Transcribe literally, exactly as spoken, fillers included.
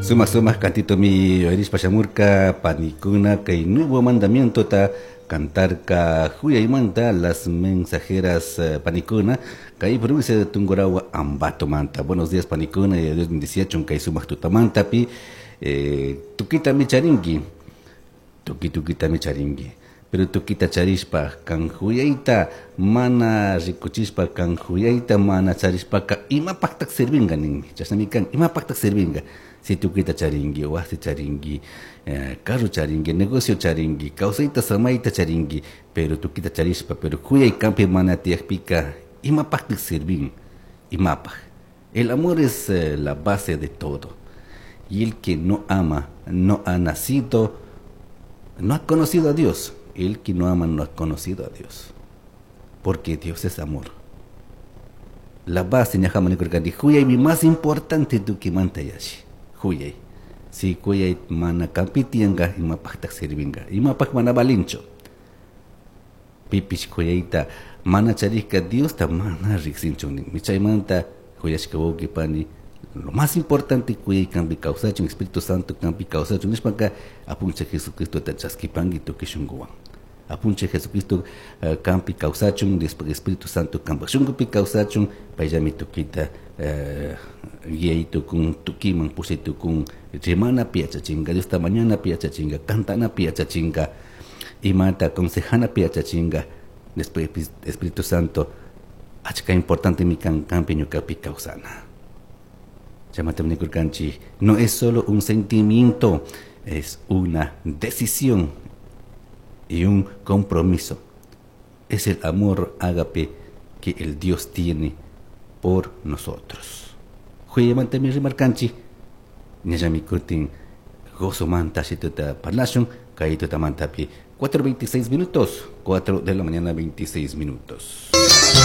Sumak sumak cantito mi uyarishpa shamurka panikuna kay nuevo mandamiento ta cantarka huyaymanta las mensajeras eh, panikuna kay provincia de Tungurahua Ambato manta. Buenos días, panikuna, y Dios bendiciachun kay sumak tutamantapi. eh, tukita mi charinki, tuki tukita mi charinki, pero tukita charishpa kan huyayta mana rikuchishpa, kan huyayta mana charishpaka, imapaqtaq servinga ninmi. Chashnami kan, imapaqtaq servinga si tukita charinki, wasi charinki, eh, carro charinki, negocio charinki, kawsayta samayta charinki, pero tukita charishpa, pero huyay kanpi mana tiyakpika, imapaqtaq servin? Imapaq? El amor es eh, la base de todo, y el que no ama no ha nacido, no ha conocido a Dios. El que no ama no ha conocido a Dios, porque Dios es amor. La base ñajaman nikurkani, huyaymi más importante tukimanta yashi. Huyay. Si huyay mana kanpi tiyanka, imapaqtaq servinga? Imapaq mana valincho? Pipish huyayta mana charishka Diosta mana riksinchu ninmi. Chaymanta, huyashka wawqi pani, lo más importante huyay kanpi kawsachun, Espíritu Santo kanpi kawsachun nishpaka, Apunchik Jesucristota chaskipanki tukuy shunkuwan. Apunchik Jesucristo uh, kanpi kawsachun, después Espíritu Santo kanpak shunkupi kawsachun, payllami tukita uh, guiay tukun, tukiman pushay tukun, rimanapi yachachinka, Diosta mañanapi yachachinka, cantanapi yachachinka, imata consejanapi yachachinka. Después Espíritu Santo achka importante mi kan kanpi ñukapi kawsana. Chaymanta nikurkanchik, no es solo un sentimiento, es una decisión y un compromiso. Es el amor ágape que el Dios tiene por nosotros. Huyaymanta mi rimarkanchik, ñallami kutin gozomanta shituta parlashun, kay tutamantapi. cuatro veintiséis minutos, cuatro de la mañana veintiséis minutos.